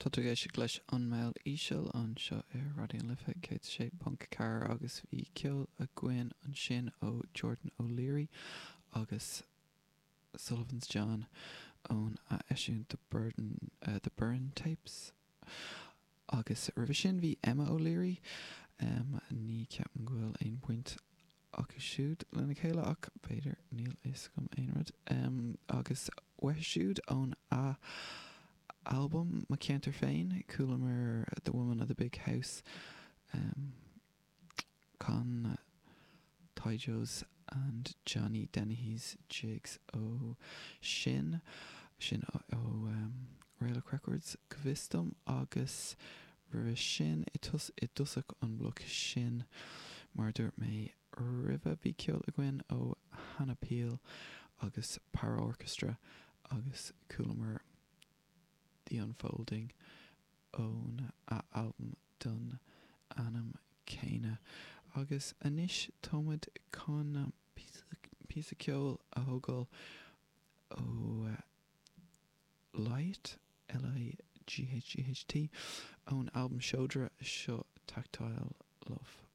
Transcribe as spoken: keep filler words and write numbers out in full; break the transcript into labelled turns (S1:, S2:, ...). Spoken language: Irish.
S1: Tá tú ag éisteacht leis an Meall Íseal anseo ar Raidió na Life céad sé ponc ceathair agus bhí ceol againn ansin ó Jordan O'Leary agus Sullivan's John ón a eisiúint The Burden uh, The Burren Tapes. Agus roimhe sin bhí Emma O'Leary um, ní ceapaim go bhfuil aon bhaint acu siúd lena chéile ach b'fhéidir níl fhios agam aon rud um, agus uathu siúd ón a album Mo Cheantar Féin chualamar The Woman of the Big House um, Con Tyjo's and Johnny Dennehy's Jigs ó sin sin ó, ó um, Raelach Records go bhfios dom agus roimhe sin i tus i dtosach an bloc sin mar dúirt mé roimhe bhí ceol againn ó Hannah Peel agus Para Orchestra agus chualamar The Unfolding ón a album den ainm céanna agus anois táimid chun píosa ceoil a thógáil ó Light L I G H G H T ón album Seodra seo Tactile Love.